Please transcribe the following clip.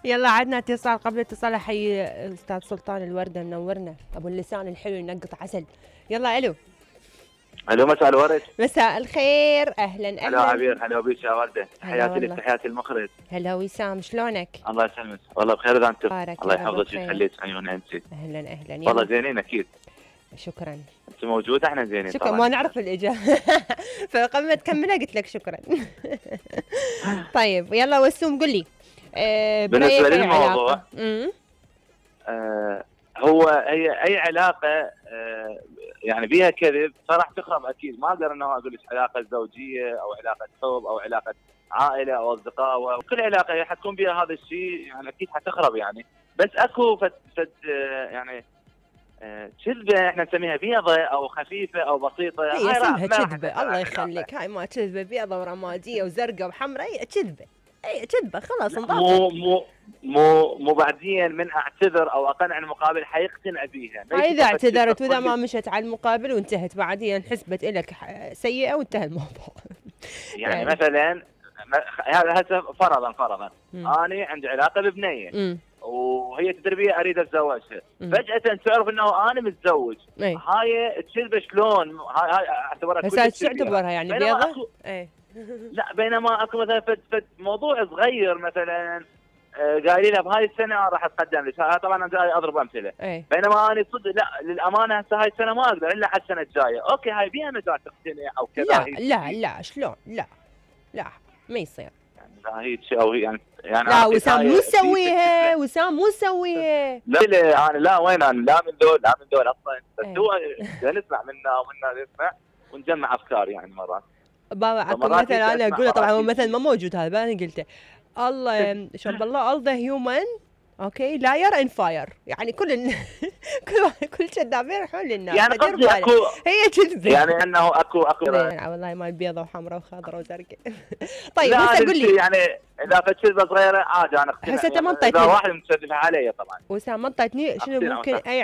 يلا عدنا اتصال قبل اتصال. حي استاذ سلطان الوردة منورنا، ابو اللسان الحلو ينقط عسل. يلا الو. الو مساء الورد. مساء الخير، اهلا اهلا. هلا عبير، هلا بيك يا ورده، تحياتي لك تحياتي المخرج. هلا وسام، شلونك؟ الله يسلمك، والله بخير اذا انت. الله يحفظك ويخليك عيون انت. اهلا اهلا. والله زينين اكيد. شكرا. انت موجوده احنا زينين. شكرا، ما نعرف الاجابه فقبل ما تكملها قلت لك شكرا. طيب يلا وسوم قل لي. بالنسبه للموضوع هو اي علاقه يعني بيها كذب فراح تخرب اكيد. ما اقدر انه اقول لك علاقه زوجيه او علاقه حب او علاقه عائله او اصدقاء، وكل علاقه حتكون بها هذا الشيء يعني اكيد حتخرب يعني. بس اكو فد يعني كذبه احنا نسميها بيضه او خفيفه او بسيطه. هي اسمها كذبه، الله يخليك. هاي ما كذبه بيضه ورماديه وزرقاء وحمراء، هي كذبه. اي كذبه خلاص انضبط. مو بعدين من اعتذر او اقنع المقابل حيقتنع بيها. اذا اعتذرت واذا ما مشت على المقابل وانتهت بعدين حسبت لك سيئه وانتهى الموضوع. يعني مثلا هذا فرضا انا عندي علاقه ببنيه وهي تدري بي اريد اتزوجها، فجاه تعرف انه انا متزوج. هاي الكذبه شلون؟ هاي اعتبرها كل شيء. بس تعتبرها يعني بيضه؟ لا، بينما اكو مثلا فد موضوع صغير مثلا قايلين لها بهاي السنه راح اتقدم لك. طبعا انا جاي اضرب امثله. بينما انا صدق لا، للامانه هسه هاي السنه ما اقدر الا على السنه الجايه. اوكي هاي بيها مجال تقتنع او كذا. لا شلون؟ لا ما يصير يعني هيك او يعني لا وسام مو سويها، وسام مو سويها. لا انا لا، وين انا لا من دول اصلا. بس هو نسمع منا ومنا نسمع ونجمع افكار يعني مرات. بابا مثلا انا اقول طبعا هو مثلا ما موجود هذا، انا قلته الله شوف الله all the human اوكي لاير ان فاير، يعني كل كذابين يروحون للنار. يعني قصدي اكو هي كذبه يعني انه اكو والله ما بيضه وحمراء وخضراء وزرقاء. طيب هسه قول لي يعني اذا كذبه صغيره عادي انا اقتنع. هسه انت ما اذا واحد متشدد علي طبعا. وسام ما انطيتني شنو ممكن اي